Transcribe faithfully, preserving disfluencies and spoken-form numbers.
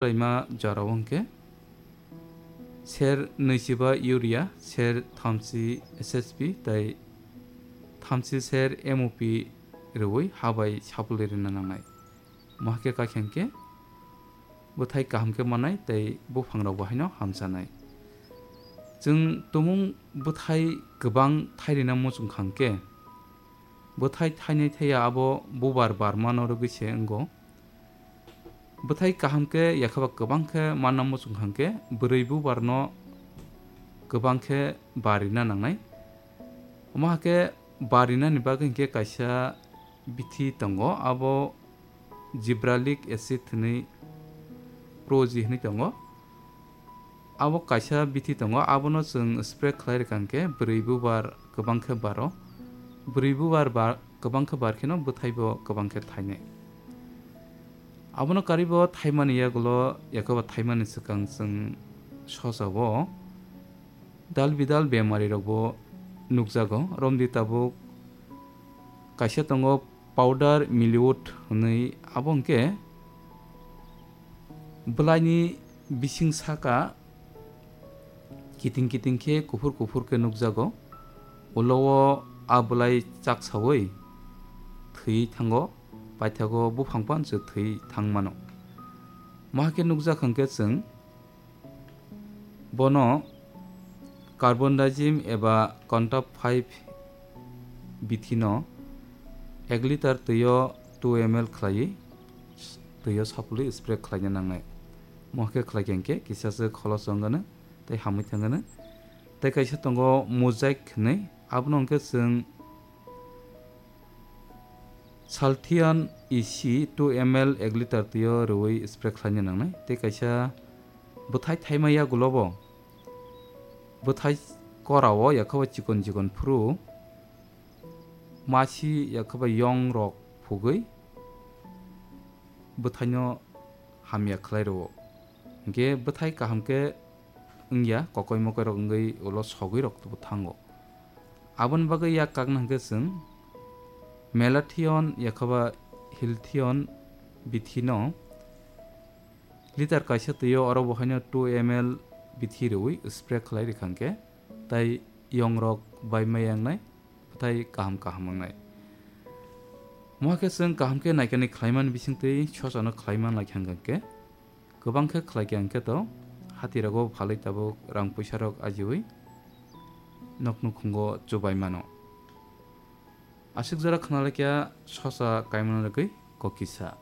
Laima jorao hwnkhe ser nwichiba urea, ser thamchi S S P tei thamchi ser M O P rwui ha bai sapulwi rwna nangnai. Mohakhe kakhe hwnkhe bwthai kaham khe mannai tei buphangrokbo haino hamchanai. Chwng tumung bwthai kwbang thairina muchung kha hwnkhe, bwthai thainai thaiya abo bubar barmano rwgwi se wngo. Bwthai kaham khe yakhaba kwbang khe manna muchung kha hwnkhe bwrwi bubarno kwbang khe barina nangnai. Omo hakhe barinani bagwi hwnkhe kaisa bithi tongo, abo gibberellic acid hwnwi, Pro G hwnwi tongo. Abo kaisa bithi tongo, abono chwng spray khlai rwkha hwnkhe bwrwi bubar kwbang khe baro. Bwrwi bubar ba-, kwbang khe bar kheno bwthaibo kwbang khe thainai. Abono karwibo thaimani yagulo, yakhaba thaimani swkang chwng sosao dal bidal bemarirokbo nukjago. Romdi tabuk kaisa tongo powder millet hwnwi, abo hwnkhe bwlaini bising saka kiting kiting khe kuphur kuphur khe nukjago. Ulo o a bwlai chaksaui thwi thango, paithago buphang pansu thwi thang mano. Mohakhe nukjak hwnkhe chwng bono carbendazim eba Contaf five bithino ek litre twio two M L khlaiwi twio sapulwi spray khlaina nangnai. Mohakhe khlaikha hwnkhe kisa se kholos wngano tei hamwi thangano. Tei kaisa tongo Mosaic hwnwi, abono hwnkhe chwng Salthion E C two M L ek litre twio rwui spray khlaina nangnai. Tei kaisa bwthai thaima yagulobo bwthai korao yakhaba chikon chikon phuru masi yakhaba yong rok phugwi bwthaino hamya khlai rwo. Hwnkhe bwthai kaham khe wngya, kokoi mokoi rok wngwi ulo sogwi rok bo thango. Aboni bagwi yak kakna hwnkhe chwng Malathion yakhaba Healthion bithino litre kaisa twio oro bo haino two M L bithi rwui spray khlai rwkha hwnkhe, tai yong rok bai maya wngnai, bwthai kaham kaham wngnai. Mohakhe chwng kaham khe naikani khlaimani bisingtwi sosano khlaiman lai kha hwnkhe, kwbang khe khlai khe hwnkhe to hatirogo phalwi tabuk rang puisa rok ajiui nok nukhungo chubai mano. Aswk jora khna lai kha sosa kaimano rwgwi kokisa.